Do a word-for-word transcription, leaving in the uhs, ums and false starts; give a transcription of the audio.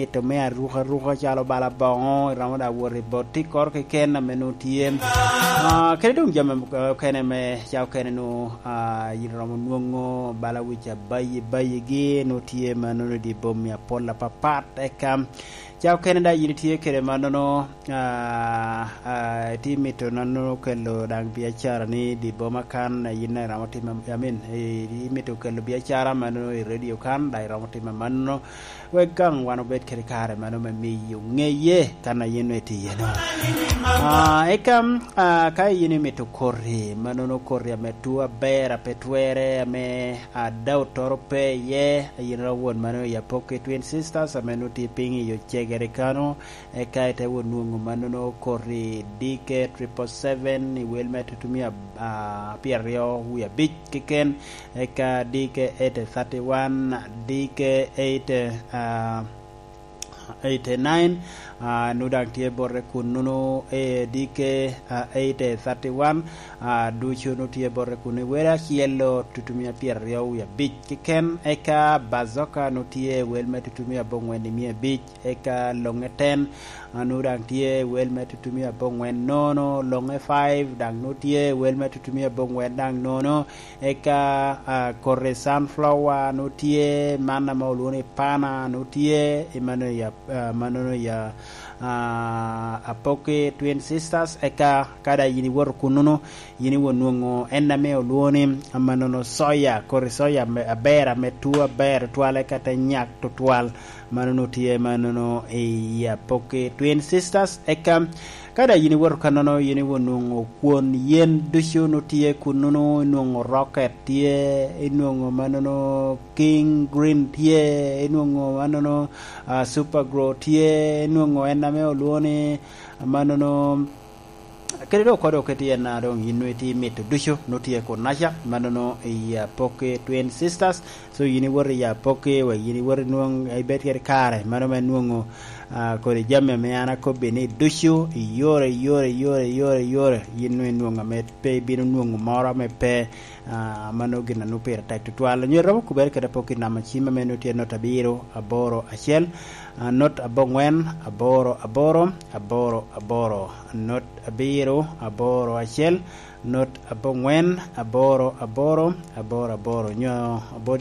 ito me aruka aruka calo bala boŋo, iromo da wot i bot tikkoro keken ame nwoŋo tye. Ah, kede doŋ jami okene me ca okene nwoŋo, ah, yin iromo nwoŋo bala wic abayi bayigi nwoŋo tye ma nwoŋo di bomi apol apapat, eka ca okene da yin itye kede mannono, ah, ah, itye mito nano kelo daŋ biacara ni di boma kan, yin iromo timo, I mean, i-, imito kelo biacara mannono i radio kan, da iromo timo mannono. Wek gaŋ wan obed kede kare mano me miyo ŋeye kan a yin nwe tye iye-no. Ah, eka, ah, ka yin imito koti, mannono koti ame tuo aber, a pe twerre, ame ada otoro pe iye, a yin iromo wot mano i Apoki Twin Sisters, ame nwoŋo tye piny i Ocegere kano, eka ite wot nwoŋo mannono koti D K triple seven i wel me tutumia, ah, pyeraryo wie abic keken, eka D K eight thirty-one, D K eight, ah, eighty-nine, ah, nu daŋ tye bote kun nunu, eh, D K, ah, eight thirty-one, ah, ducu nu tye bote kun i wele acel-lo tutumia pyeraryo wie abic keken, eka Bazoka nu tye wel me tutumia aboŋwen i mia abic, eka Loŋe ten, ah, nu daŋ tye wel me tutumia aboŋwen nono, Loŋe five daŋ nu tye wel me tutumia aboŋwen daŋ nono, eka, ah, koti sunflower nu tye, man ame olwoŋo ni pana nu tye, i mano ya, ah, manono ya, ah, Apoki Twin Sisters, eka ka da yin iwoto kunnono, yin iwot nwoŋo en ame olwoŋo ni, ah, manono soya, koti soya me, aber, ame tuo aber tutwal, eka te nyak tutwal, manono tye, manono i Apoki Twin Sisters, eka Ka daŋ yin iwoto kannono, yin iwot nwoŋo kwon yen ducu nu tye kunnono, inwoŋo rocket tye, inwoŋo mannono king green tye, inwoŋo mannono, ah, super grow tye, inwoŋo en ame olwoŋo ni mannono, kede dok oko dok kede en a doŋ yin nwoŋo itye mito ducu nu tye kunnaca, mannono i Apoki Twin Sisters. So yin iwoto i Apoki, wa yin iwoto inwoŋo, ibed kede kare, mano me nwoŋo, ah, kodi jami ame an akobbi ni ducu, iyore, iyore, iyore, iyore, iyore, yin nwoŋo inwoŋo ame pe ibino nwoŋo moro ame pe, ah, mano gin a nwoŋo pire tek tutwal. Onyo iromo kubere kede Apoki namba cim ame nwoŋo tye not abiro, aboro, acel, ah, not aboŋwen, aboro, aboro, aboro, aboro, not abiro, aboro, acel, not aboŋwen, aboro, aboro, aboro, aboro, nyo aboro